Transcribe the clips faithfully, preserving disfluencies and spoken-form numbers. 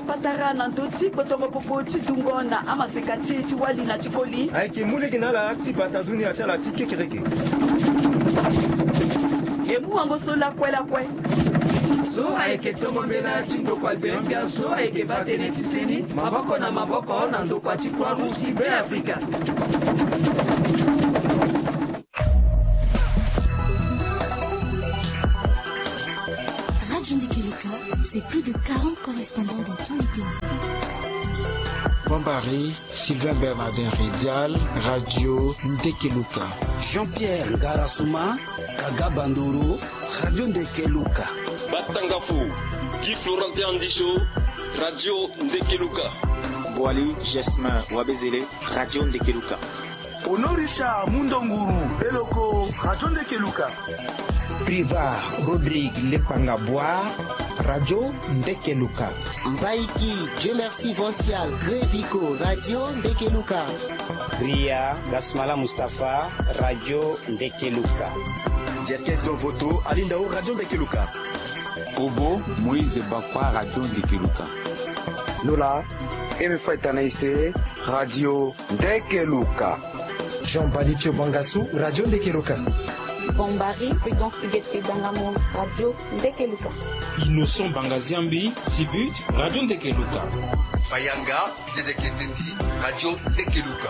Patara na ndö ti kpotongo popo ti dungo na amaseka ti e ti wali na ti koli. Ayeke mu lege na ala ti bata dunia ti ala ti kekereke. E mu wango so lakue lakue. So ayeke tongo mbela ti ndokua gbia gbia so ayeke baa tënë ti seni maboko na maboko na ndokua ti Croix Rouge ti Be Afrika. Radio Ndekeluka, c'est plus de quarante correspondants dans tous les pays. Bambari, Sylvain Bernardin Redial, Radio Ndekeluka. Jean-Pierre Ngarasuma, Kaga Bandoro, Radio Ndekeluka. Batangafo, Guy Florentin Andicho, Radio Ndekeluka. Boali Jasmin Wabezele, Radio Ndekeluka. Honorisha Mundonguru Beloko, Radio Ndekeluka. Priva Rodrigue Lepanga Boa, Radio Ndekeluka. Mbaiki Dieu Merci Vancial Grevico, Radio Ndekeluka. Ria Gasmala Mustapha, Radio Ndekeluka. Jeskes Dovoto Alindao, Radio Ndekeluka. Obo Moïse Bakwa, Radio Ndekeluka. Nola Eme Faitana Ise, Radio Ndekeluka. Jean Balitio Bangasu, Radio Ndekeluka. Bombari Prudence Igete Dangamo, Radio Ndekeluka. Innocent Bangaziambi, Sibut, Radio Ndekeluka. Mayanga Dede Ketendi, Radio Ndekeluka.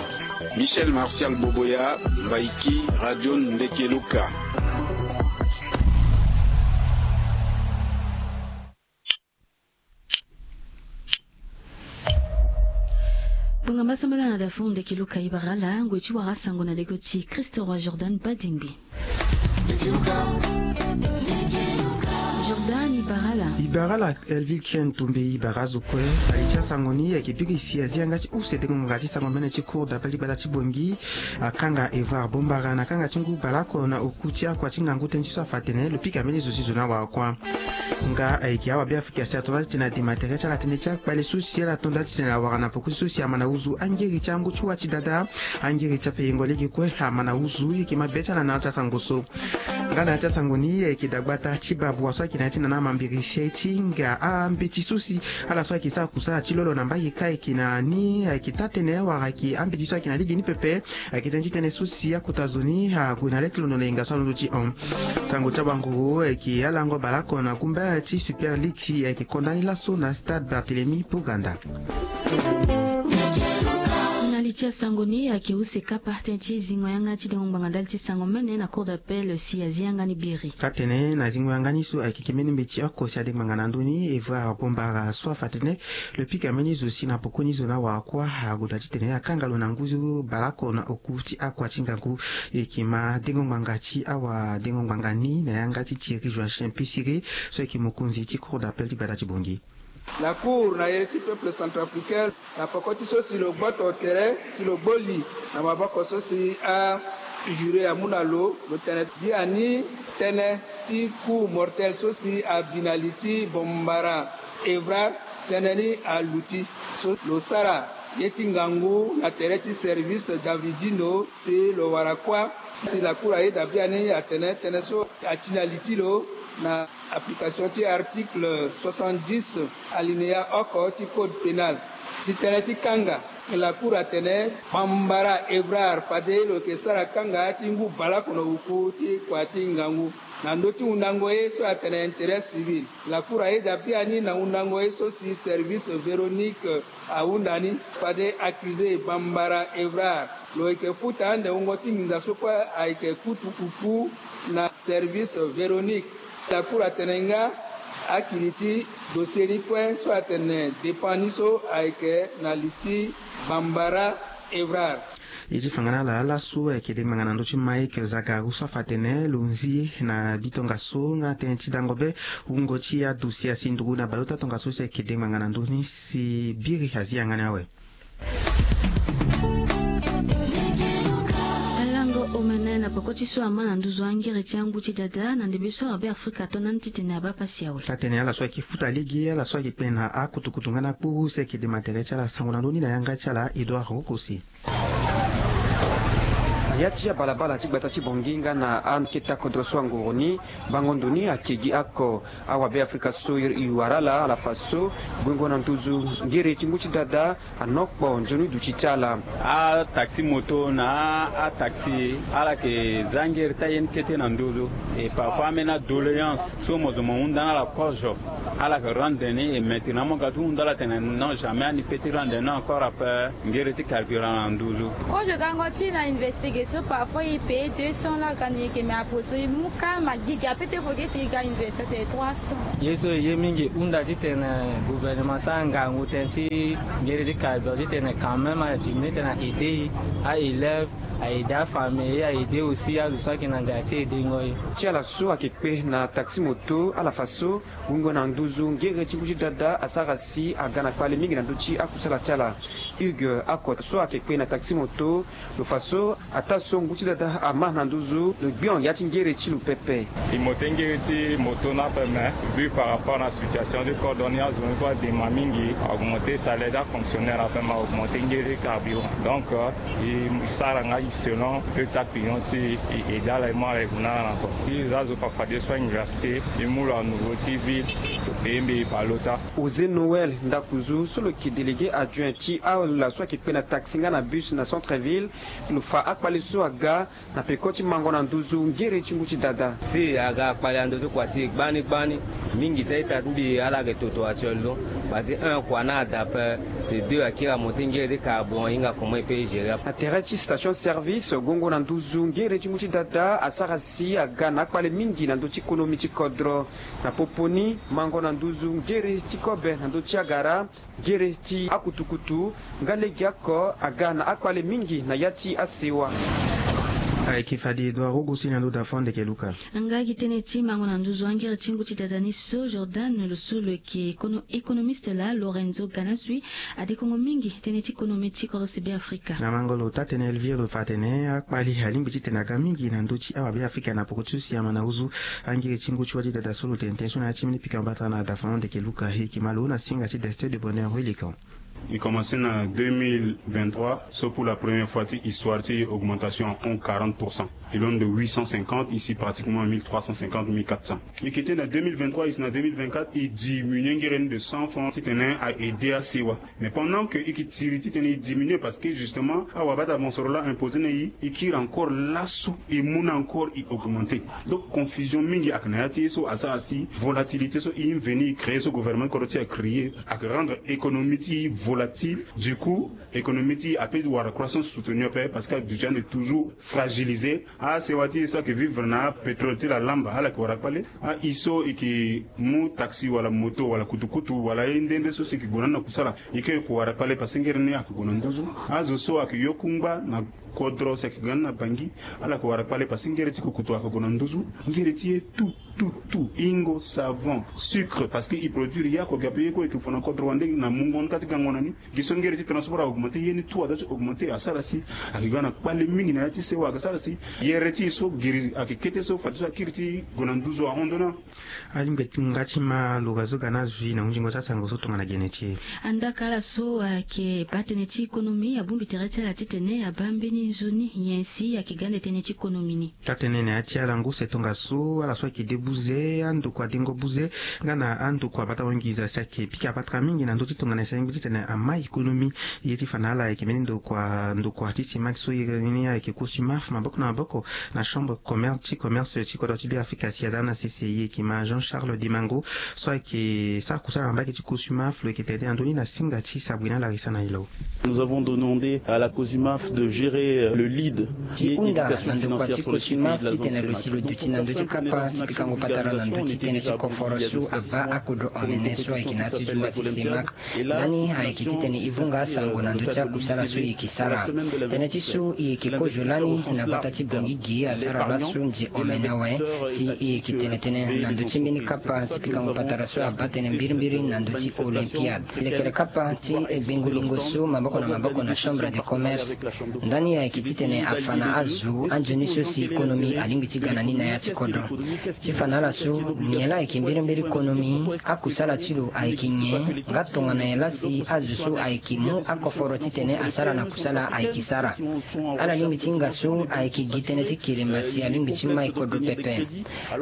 Michel Martial Boboya, Mbaiki, Radio Ndekeluka. Bonga masambala na dafu Ndekeluka ibarala, ngoi ti wara sango na lego ti Christo Roi Jordan Badingbi. Jordan ibarala. Ibarala Elvil Kien Tumbe, ibara zo kue. Ali ti asango ni ayeke biri si azi yanga ti use dengo ngbanga ti sango mene ti cour d'appel ti gbata ti Bongi, akanga Evrard Bombara na kanga ti ngu baleoko na oku ti akua ti ngangu tënë ti so afa atene lo pika mbeni zo si zo ni awara kuâ. Nga ayeke awa Beafrika si ato la titene adema tere ti ala tënë ti akpale so si ala to nda titene awara na poko ti so si ama na uzu angiri ti angu ti wa ti dada, angiri ti afengo lege kue ama na uzu. Yeke mabe ti ala na ya ti asango so. Nga na ya ti asango ni ayeke dagbata ti bavua so ayeke na ya ti nana mambiri si aye ti hinga ambeti so si ala so ayeke sara kusala ti lolo na mbage kâ ayeke na ni ayeke taa-tënë wala ayeke ambeti so ayeke na lege ni pepe. Ayeke tënë ti tënë so si akota zo ni ague na le ti londo na yenga so alondo ti hon. Sango ti abanguru ayeke alango baleoko na gumba ti Super League si ayeke konda ni laso na stade Barthélemy Poganda. Na li ti asango ni ayeke use kapa tënë ti zingo yanga ti dengo ngbanga ndali ti sango mene na cour d'appel si azi yanga ni biri. Atene na zingo yanga ni so ayeke ke mbeni mbeti oko si adengo ngbanga na ndö ni Evrard Bombara so afa atene lo pika mbeni zo si na poko ni zo ni awara kuâ, ague daa titene akanga lo na ngu baleoko na oku ti akua ti ngangu. E yeke ma dengo ngbanga ti awadengo ngbanga ni na yanga ti Thierry Joachim Pissiré so ayeke mokonzi ti cour d'appel ti gbata ti Bongi. La cour na ere ti peuple centrafricain na poko ti so si lo gboto tere si lo gbo li na maboko so si ajuré amu na lo, lo tene biani tënë ti coup mortel so si abi na li ti Bombara Evrard, tënë ni aluti. So lo sara ye ti ngangu na tere ti service Davidino si lo wara kuâ. Si la cour ayeda biani atene tënë so ati na li ti lo na application ti article soixante-dix alinéa oko ti code pénal. Si tënë ti kanga, la cour atene Bambara Evrard fade lo yeke sara kanga ti ngu baleoko na oku ti kua ti ngangu na ndö ti hundango ye so atene intérêt civil. La cour ayeda biani na hundango ye so si service Véronique ahunda ni, fade accusé Bambara Evrard lo yeke futa ande wungo ti nginza so kue ayeke kutu oku na service Véronique. Si la cour atene nga akiri ti dossier ni kue so atene dépend ni so ayeke na li ti Bambara Evrard. Ye ti fanga na ala laso ayeke dengo ngbanga na ndö ti Mike Zagaru so afa atene lo nzi na bi tongaso nga tënë ti dango be wungo ti adossier asi nduru na baleota tongaso si ayeke dengo ngbanga na ndö ni si biri azi yanga ni awe. Alango omene na poko ti so ama na nduzu angiri ti angu ti dada na ndembe so abe Afrika ato na ni titene abaa pasi awe. Atene ala so ayeke futa lege, ala so ayeke kpe na akutukutu nga na kpuru si ayeke dema tere ti ala sango na ndö ni na yanga ti ala Edouard Rokosi. Ya ti abalabala ti gbata ti Bangui nga na akete akodro so angoro ni, bango ndo ni ake gi oko. Awabe afrika so i wara ala ala fa so guengo na nduzu ngere ti ngu ti dada anokpo nzoni duti ti ala. Ataxi moto na ataxi ala yeke za ngere ti ayen kete na nduzu. E parfois ambeni adoléance so mo zo mo hunda na ala kozo, ala yeke rendre ni. E maître na mo ga ti hunda ala tene non, jamais ani pe ti rendre ni encore ape. Ngere ti carburant na nduzu. Kozo gango ti na investigation parfois e paye deux cents la gani yeke me apo so e mu ka ma gigi ape te fo gete e ga investigation te trois cents. Ye so e ye mingi hunda titene gouvernement asara ngangu tënë ti ngere ti carburant titene quand même a diminuer titene a aider aélève, a aider afamille, a aider aussi azo so ayeke na nzara ti aider ngo ye. Ti ala so ayeke kpe na taxi moto ala fa so wungo na nduzu ngere ti ngu ti dada asara si aga na kpale mingi na ndö ti akusala ti ala. Hugues Akot so ayeke kpe na taxi moto lo fa so ataa so ngu ti dada ama na nduzu lo gbion ya ti ngere ti lo pepe. E mote ngere ti moto ni ape me vu par rapport na situation ti kodro ni azo ni kue adema mingi, augmenter salaire ti afonctionnaire ape me augmenter ngere ti carburant. Donc e sara nga e selon peu ti aclient ti e aidé ala e mu ala e gue na ala na ko. E za azo fa fadeso auniversité e mu lo na nouveau ti ville. E mbi e bale ota. José Noël Ndakuzu so lo yeke délégué adjoint ti ala so ayeke kpe na taxi nga na bus na centre ville, lo fa akpale so aga na peko ti mango na nduzu ngere ti ngu ti dada. Si aga akpale na ndö ti kua ti e gbani gbani mingi ti a-ita ti mbi ala yeke toto actuellement. Bati un kua na ada ape. De deux akiri amonté ngere ti carburant e hinga comment e peut gérer. Na tere ti station service guengo na nduzu ngere ti ngu ti dada asara si aga na akpale mingi na ndö ti konomi ti kodro. Na popo ni mango na nduzu ngere ti kobe na ndö ti agara, ngere ti akutukutu nga legeoko aga na akpale mingi na ya ti asewa. Ayeke fade Edouard Rogo si na ndo da fo ndeke luka. Nga gi tënë ti mango na nduzu angere ti ngu ti dada ni so Jordan lo so lo yeke économiste laa Lorenzo Ganasui adekongo mingi tënë ti konomi ti kodro si Beafrika. Na mango lo taa-tënë Elvire lo fa atene akpale alingbi titene aga mingi na ndö ti awabeafrika na poko ti so si ama na nduzu. Angere ti ngu ti wa ti dada so lo tene tënë so na ya ti mbeni pikango bata na da fo ndeke luka e yeke ma lo na singa ti destin de bonheur wilikan. E commencé na deux mille vingt-trois so pour la première fois ti histoire ti augmentation ahon quarante pour cent. E londo de huit cent cinquante, e si pratiquement mille trois cent cinquante, mille quatre cents. E yeke tene na deux mille vingt-trois e si na deux mille vingt-quatre e diminué ngere ni de cent francs titene a aidé asewa. Mais pendant que e yeke tiri titene e diminué parce que justement awabata mosoro laa imposé na e, e kiri encore laso e mu na encore e augmenté. Donc confusion mingi ayeke na ya ti ye so asara si volatilité so e venu e créé so gouvernement ti kodro ti e acréé ayeke rendre économie ti e volatile. Du coup économie ti e apeut wara croissance soutenue ape parce que aduti ande toujours fragilisé. Asewa ti e so ayeke vivre na apétrole ti la lamba ala yeke wara kpale. Aye so e yeke mu taxi wala moto wala kutukutu wala aye nde nde so si e yeke gue na ni na kusala e ke yeke wara kpale parce que ngere ni ayeke gue na nduzu. Azo so ayeke yo kungba na kodro si ayeke ga ni na Bangui ala yeke wara kpale parce que ngere ti kukutu ayeke gue na nduzu. Ngere ti ye tout tout tout, hingo, savon, sucre, parce que e produire ye oko ge ape ye kue e yeke fo na kodro wande na mungo ni ka ti gango na ni. Gi so ngere ti transport a augmenté ye ni tout adoit ti augmenté asara si ayeke ga na kpale mingi na ya ti sewa ayeke sara si yere ti e so giri ayeke kete so fadeso akiri ti gue na nduzu ahon ndo ni. Alingbi ti nga ti ma lo ga zo ga na zui na hunzingo ti asango so tongana gene ti e. Andaka ala so ayeke baa tënë ti économie abongbi tere ti ala titene abaa mbeni nzoni nyen si ayeke ga ande tënë ti économie ni. Taa-tënë na ya ti ala ngu se tongaso ala so ayeke de buze andokua dengo buze nga na andokua bata wangiza si ayeke pika patara mingi na ndö ti tongana si alingbi titene ama économie. Ye ti fa na ala ayeke mbeni ndokua ndokua ti simak so iri ni ayeke cosumaf maboko na maboko na chambre commerce ti commerce ti kodro ti Beafrika si aza na sese e yeke ma Jean Charles Dimango so ayeke sara kusala na mbage ti cosumaf lo yeke tene tënë na ndö ni na singa ti sabri na larisa na e lo. Nous avons demandé à la cosumaf de gérer le lead. Ti hunda na ndokua ti cosumaf titene lo si lo duti na ndö ti kapa ti pikango patara na ndö ti tënë ti koforo so abaa akodro omene so ayeke na ya ti zunga ti semak. Lani ayeke titene e vunga asango na ndö ti akusala so e yeke sara. Tënë ti so e yeke kozo lani na gbata ti Bangui ge asara laso nze omene awe. Si e yeke tene tënë na ndö ti mbeni kapa ti pikango patara so abaa tënë mbirimbiri na ndö ti olympiade. Lekere kapa ti gbengo lingo so maboko na maboko na chambre de commerce. Ndani ayeke titene afa na azo anzoni so si économie alingbi ti ga na ni na ya ti kodro. Ti fa na ala so nyen laa ayeke mbirimbiri économie, akusala ti lo ayeke nyen nga tongana nyen laa si Azo so ayeke mu akoforo titene asara na kusala ayeke sara. Ala lingbi ti hinga so ayeke gi tënë ti kiremba si alingbi ti mai kodro pepe.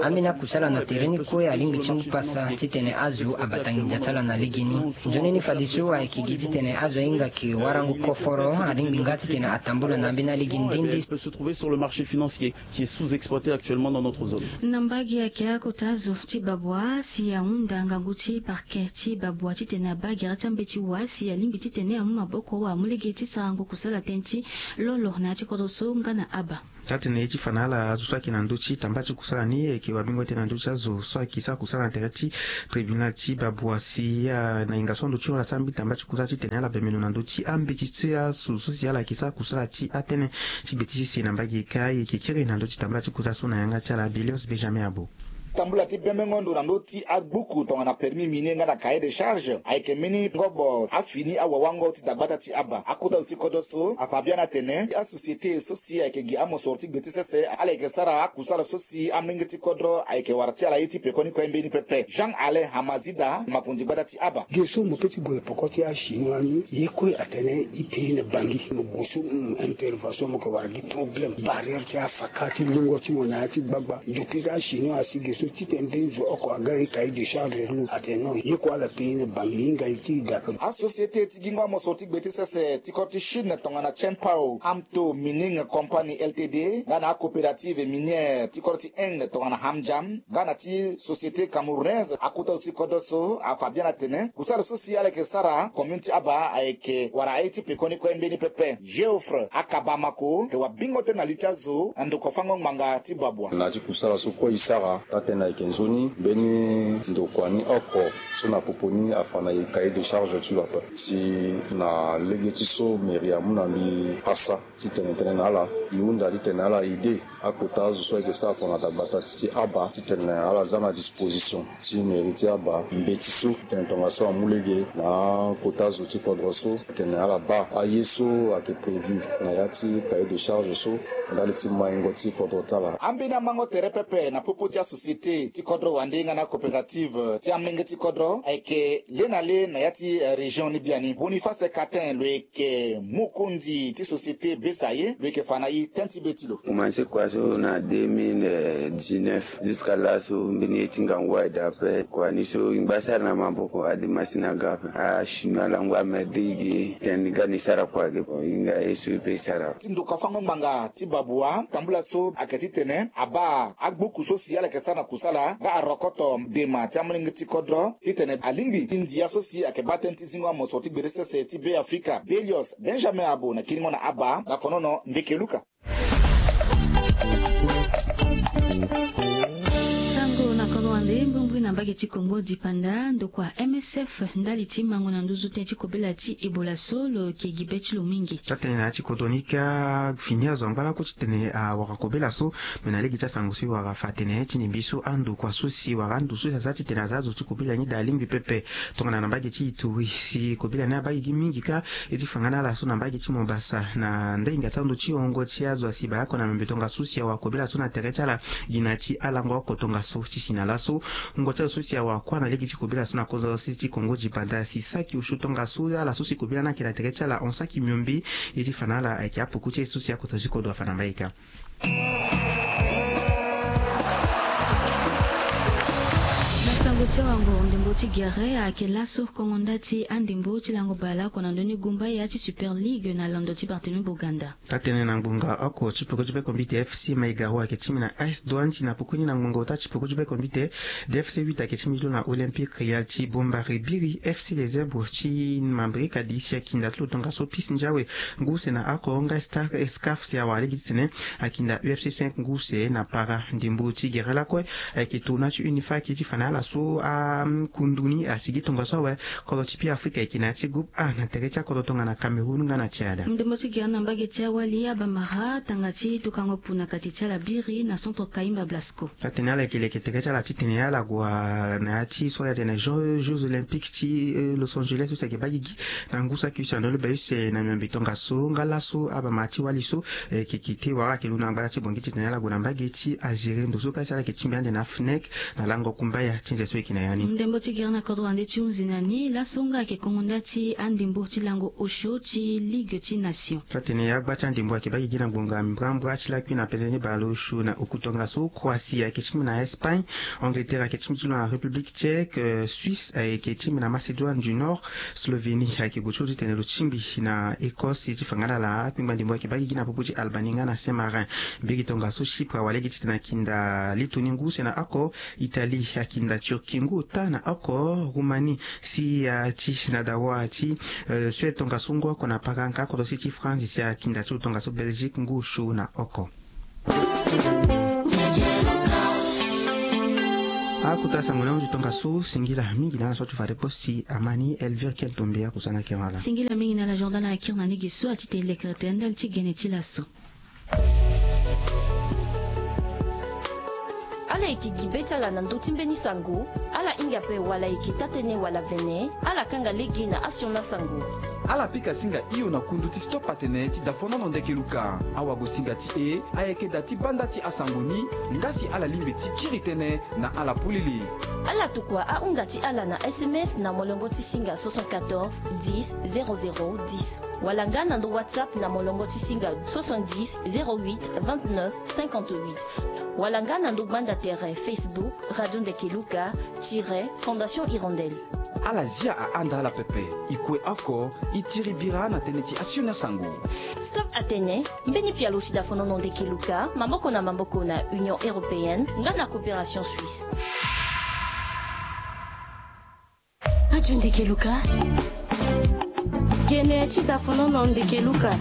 Ambeni akusala na tere ni kue alingbi ti mu pasa titene azo abata nginza ti ala na legeni. Nzoni ni fadeso ayeke gi titene azo ahinga ke warango koforo alingbi nga titene atambula na ambeni alege ndende. Peut se trouver sur le marché financier qui est sous-exploité actuellement dans notre zone. Na mbage ayeke akota azo ti Babwa si ahunda ngangu ti parquet ti Babwa titene abaa gere ti ambeti wa si alingbi titene amu maboko wa amu lege ti sarango kusala tënë ti lolo na ya ti kodro so nga na aba. Atene ye ti fa na ala azo so ayeke na ndö ti tamba ti kusala ni ayeke wabingo tënë na ndö ti azo so ayeke sara kusala na tere ti tribunal ti Babwa si na hinga so ando ti hon ala sara mbeni tamba ti kusala titene ala bemeno na ndö ti ambeti ti azo so si ala yeke sara kusala ti atënë ti gbe ti sese na mbage ka ayeke kiri na ndö ti tambula ti kusala so na yanga ti ala Bilios Benjamin Abo. Tambula ti bembengo ndo na ndö ti agbuku tongana permis minier nga na cahier de charge ayeke mbeni ngobo afini awawango ti dagbata ti aba. Akota zo ti kodro so afa biani atene asociété so si ayeke gi amosoro ti gbe ti sese ala yeke sara akusala so si amolenge ti kodro ayeke wara ti ala ye ti pekoni kue mbeni pepe. Jean Alain Hamazida, makonzi gbata ti aba. Ge so mo pe ti gue peko ti achinois ni ye kue atene e pays na Bangui mo gue so intervention mo yeke wara gi problème barrière ti afaka ti lungo ti mo na ya ti gbagba. Depuis achinois asi ge so titene mbeni zo oko aga e cahier de charge lo atene non ye kue ala pays na Bangui e hinga e ti e daa pe. Asociété ti gingo amosoro ti gbe ti sese ti kodro ti Chine tongana Chenpao Amto Mining Company Ltd nga na acoopérative minière ti kodro ti Inde tongana Hamjam nga na ti société camerounaise akota zo ti kodro so afa biani atene kusala so si ala yeke sara commune ti aba ayeke wara aye ti pekoni kue mbeni pepe. Geoffre Akabamako yeke wabingo tënë na li ti azo na ndokua fango ngbanga ti Babwa. Na ya ti kusala so kue e sara taa-tënë ayeke nzoni mbeni ndokua ni oko so na popo ni afa na e cahier de charge ti lo ape si na lege ti so mairie amu na mbi pasa titene tënë na ala e hunda titene ala aide akota azo so ayeke sara tongana dagbata ti aba titene ala za na disposition ti mairie ti aba mbeti so titene tongaso amu lege na akota azo ti kodro so titene ala baa aye so ayeke prévu na ya ti cahier de charge so ndali ti maingo ti kodro ti ala. Ambeni amango tere pepe na popo ti asociété ti kodro wande nga na acoopérative ti amolenge ti kodro ayeke le na le na ya ti région ni biani. Boniface Catin lo yeke mokonzi ti société Besaye lo yeke fa na e tënë ti be ti lo. Komanse kua so na deux mille dix-neuf jusqu'à laso mbeni ye ti ngangu aye daa ape kua ni so e ngba sara na maboko ade masini aga ape achinois lango amerde e ge tene ga ni sara kua ge bon e hinga ye so e pe e sara. Ti ndokua fango ngbanga ti Babwa tambula so ayeke titene abaa agbuku so si ala yeke sara na kusala nga arokoto dema ti amolenge ti kodro titene alingbi e ndia so si ayeke baa tënë ti zingo amosoro ti gbere sese ti Be Afrika. Belios Benjamin Abo na kiringo na aba na fonono ndeke luka. Sango na kodro wande mbrimbri na mbage ti Kongo dipanda ndokua M S F ndali ti mango na nduzu tënë ti kobela ti Ebola so lo yeke gi be ti lo mingi. Taa-tënë na ya ti kodro ni ka fini azo angba lako titene awara kobela so. Me na lege ti asango so e wara fa atene ti ndembe so andokua so si wara ando so si aza titene aza azo ti kobela ni daa alingbi pepe. Tongana na mbage ti Ituri si kobela ni abaa gi mingi ka e ti fa nga na ala so na mbage ti Mobasa na ndinga ti ando ti hongo ti azo asi baleoko na miombe tongaso si awara kobela so na tere ti ala. Gi na ya ti alango oko tongaso ti si na laso wungo ti azo so si awara kuâ na lege ti kobela so na kozoro sese ti Kongo dipanda si saki osio tongaso ala so si kobela ni ayeke na tere ti ala hon saki miombe. E ti fa na ala ayeke apoko ti aye so si akota ti kodro afa na mbage ka. Na sango ti awango ndembo ti gere ayeke laso kongo nda ti andembo ti lango baleoko na ndö ni gumbaya ti Super League na londo ti Barthélemy Boganda. Atene na ngbonga oko ti peko ti bekombite F C Maigaro ayeke ti mbi na A S Douanes na pokoni na ngbonga ota ti peko ti bekombite D F C huit ayeke ti mbi ti lo na Olympique Real ti Bombari Biri F C Les Zèbres ti Mambrika D C akinda ti lo tongaso Peace Ndiawe ngu use na oko nga Star Escaf si awara lege titene akinda U F C cinq ngu use na para ndembo ti gere lakue. Ayeke tona ti Unifac ti fa na ala so akundu ni asigi tongaso awe. Kodro ti Beafrika ayeke na ya ti groupe A na tere ti akodro tongana Cameroun nga na Tchad. Ndembo ti gere na mbage ti awali abamara tanga ti tukango pu na kati ti ala biri na centre Kaimba Blasco. Atene ala yeke leke tere ti ala titene ala gue na ya ti so ayeke atene Jeux Olympiques ti Los Angeles so si ayeke baa gigi na ngu saki use na ndö ni bale use na miombe tongaso nga laso abamara ti wali so. Ayeke kete wala ayeke lu na ngbara ti bongi titene ala gue na mbage ti Algérie ndo so ka si ala yeke ti mbi ande na FNEC na lango kumbaya ti nze so. Ki na ya ni. Ndembo ti gere na kodro wande ti hunzi na ni laso nga ayeke kongo nda ti andembo ti lango osio ti Ligue ti Nation. Atene agba ti andembo ayeke baa gigi na ngbonga mbrambra ti lakui na pese ni baleosio na oku tongaso. Croatie ayeke ti mbi na Espagne. Angleterre ayeke ti mbi ti lo na République Tchèque. Suisse ayeke ti mbi na Macédoine du Nord. Slovénie ayeke gue ti lo titene lo ti mbi na Écosse ti fa nga na ala. Akpengba ndembo ayeke baa gigi na popo ti Albanie nga na Saint-Marin. Mbege tongaso Chypre awara lege titene akinda Lettonie ngu use na oko. Italie akinda Turquie ngu ota na oko. Roumanie si ati na dawa ti Suède tongaso ngu oko na pakanka. Kodro si ti France si akinda ti lo tongaso Belgique ngu osio na oko. Akota sango ni ahunzi tongaso. Singila mingi na ala so ti fade poste. Amani Elvire Ken Tombe akusana kere ala. Singila mingi na ala Jordan akiri na ni gi so ati te lekere tene ndali ti gene ti laso. Ala yeke gi be ti ala na ndö ti mbeni sango. Ala hinga ape wala ayeke taa-tënë wala vene. Ala kanga lege na asioni asango. Ala pika singa hio na kundu ti Stop Atene ti dafonono ndeke luka. Awagosinga ti e ayeke da ti banda ti asango ni. Nga si ala lingbi ti kiri tënë na ala polele. Ala tokua ahunda ti ala na S M S na molongo ti singa soixante-quatorze dix zéro zéro dix. Wala nga na ndo WhatsApp na molongo ti singa soixante-dix zéro huit vingt-neuf cinquante-huit. Wala nga na ndo gbanda tere Facebook Radio Ndeke Luka tiret Fondation Hirondelle. Ala zia ahanda ala pepe. E kue oko e tiri bira na tënë ti asioni asango. Stop Atene, mbeni pialo ti dafonono ndeke luka maboko na maboko na Union Européenne nga na Coopération Suisse. Radio Ndeke Luka. Gene ti dafonono ndeke luka.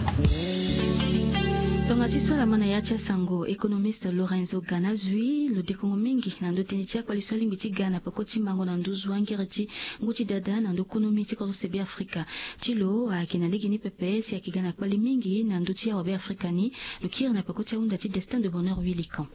Tonga ti so ala ma na ya ti asango, économiste Lorenzo Ganazui lo dekongo mingi na ndö tënë ti akpali so alingbi ti ga na peko ti mango na nduzu angere ti ngu ti dada na ndö konomi ti kodro se Be Afrika. Ti lo ayeke na lege ni pepe si ayeke ga na kpali mingi na ndö ti awa Be Afrika ni. Lo kiri na peko ti ahunda ti Destin de Bonheur Huit Likan.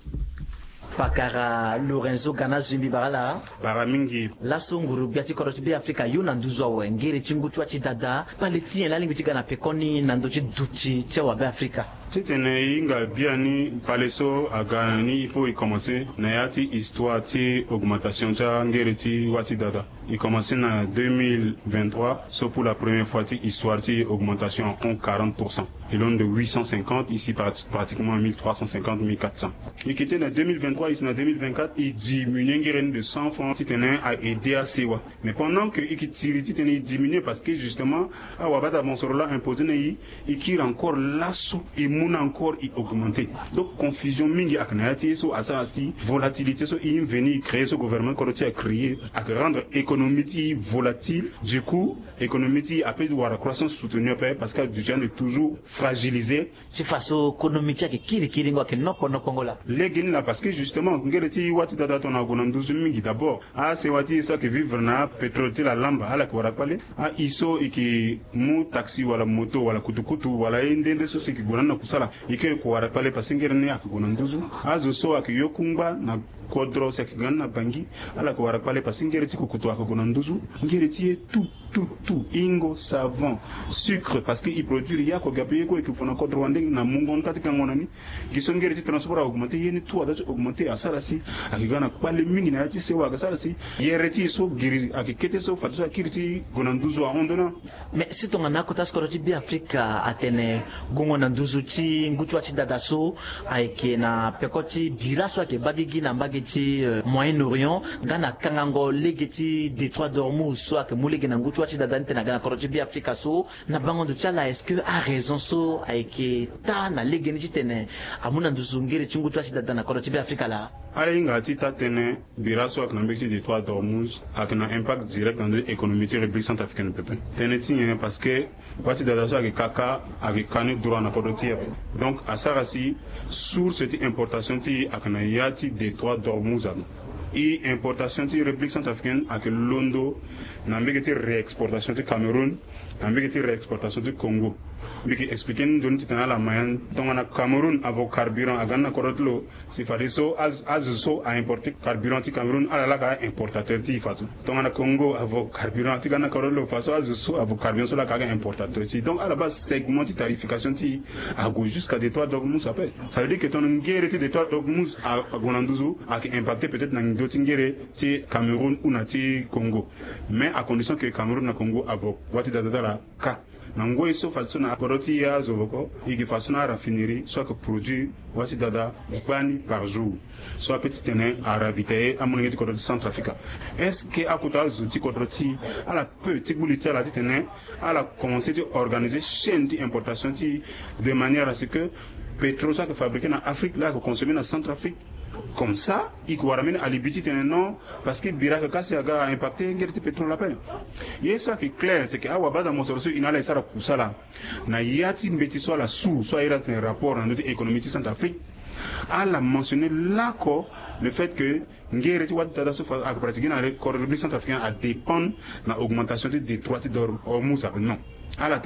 Pakara Lorenzo Ganazui, mbi bara ala. Bara mingi. Laso nguru gbia ti kodro ti Be Afrika yo na nduzu awe ngere ti ngu ti wa ti dada, kpale ti nyen la alingbi ti ga na pekoni na ndö ti duti ti awa Be Afrika? Titene e hinga biani, kpale so aga na ni, il faut e commencer na ya ti histoire ti augmentation ti angere ti wa ti dada. E commencer na deux mille vingt-trois so pour la première fois ti histoire ti augmentation en quarante pour cent. E londo de huit cent cinquante, ici pratiquement mille trois cent cinquante, mille quatre cents. E yeke tene na deux mille vingt-trois ici na deux mille vingt-quatre e diminuer ngere ni de cent francs titene a aider asewa. Mais pendant que e yeke tiri titene e diminuer parce que justement awabata mosoro la imposer na e, e kiri encore laso e mu na encore e augmenter. Donc confusion mingi ayeke na ya ti e so asara si volatilité so e venu e créer so gouvernement kodro ti e acréer ayeke rendre économie ti e volatile. Du coup économie ti e ape wara croissance soutenue ape parce que aduti ande toujours fragiliser. Ti fa so konomi ti e ayeke kirikiringo ayeke nokpo nokpongo la. Lege ni la parce que justement ngere ti wa ti dada tongana ague na nduzu mingi d'abord. Asewa ti e so ayeke vivre na pétrole ti lalamba ala yeke wara kpale. Aye so e yeke mu taxi wala moto wala kutukutu wala ye nde nde so si e yeke gue na ni na kusala e yeke wara kpale parce que ngere ni ayeke gue na nduzu. Azo so ayeke yo kungba na kodro si ayeke ga ni na Bangui ala yeke wara kpale parce que ngere ti kukutu ayeke gue na nduzu. Ngere ti e tout tout tout, hingo, savon, sucre, parce que e produire ya ko gape ye ko e yeke fu na kodro wande na mungo ni ka ti kango na ni. Gi so ngere ti transport a augmenter, ye ni tout adoit ti augmenter, asara si ayeke ga na kpale mingi na ya ti sewa, ayeke sara si yere ti e so giri ayeke kete so fadeso akiri ti gue na nduzu ahon ndo ni. Mais si tongana akota ti kodro ti Be Afrika atene gongo na nduzu ti ngu ti wa ti dada so ayeke na peko ti bira so ayeke baa gigi na mbage ti Moyen-Orient nga na kangango lege ti détroit d'Ormuz so ayeke mu lege na ngu ti wa ti dada ni tene aga na kodro ti Be Afrika so. Na bango ndo ti ala, est-ce que araison so ayeke taa na lege ni titene amu na nduzu ngere ti ngu ti wa ti dada na kodro ti Be Afrika laa? Ala hinga ti taa tënë, bira so ayeke na mbage ti détroit d'Ormuz ayeke na impact direct na ndö ti économie ti République centrafricaine pepe. Tënë ti nyen? Parce que wa ti dada so ayeke kaka ayeke ka ni droit na kodro ti e ape. Donc asara si source ti importation ti e ayeke na ya ti détroit d'Ormuz ape. E importation ti République centrafricaine ayeke londo na mbage ti réexportation ti Cameroun, na mbage ti réexportation ti Congo. Mbi yeke expliquer ni nzoni titene ala ma ya ni. Tongana Cameroun avo carburant aga ni na kodro ti lo, si fadeso azo so a importer carburant ti Cameroun, ala laka importateur ti e fadeso. Tongana Congo avo carburant ti ga ni na kodro ti lo, fadeso azo so avo carburant so laka aga importateur ti e. Donc ala baa segment ti tarification ti e ague jusqu'à détroit d'Ormuz ape. Ça veut dire que tongana ngere ti détroit d'Ormuz ague na nduzu, ayeke impacter peut-être na ndo ti ngere ti Cameroun ou na ti Congo, mais à condition que Cameroun na Congo avo wâ ti dada ti ala kâ. Na ngoi so fadeso na kodro ti e azo voko, e yeke fadeso na araffinerie so ayeke produire wâ ti dada gbani par jour, so ape titene aravitailler amolenge ti kodro ti Centrafrique. Est-ce que akota azo ti kodro ti e ala peut ti gbu li ti ala titene ala commencer ti organiser chaîne ti importation ti e, de manière à ce que pétrole so ayeke fabriquer na Afrique laa ayeke consommer na Centrafrique. Comme ça e yeke wara mbeni alibi titene non, parce que bira ayeke kâ si aga a impacter ngere ti pétrole ape. Ye so ayeke clair c'est que awabada mosoro so e na ala e sara kusala na ya ti mbeti so ala su so a iri atene rapport na ndö ti économie ti Centrafrique. Ala mentionner lako le fait que ngere ti wâ ti dada so ayeke pratiquer na kodro République centrafricaine adépendre na augmentation ti détroit ti Hormuz ape. Non, ala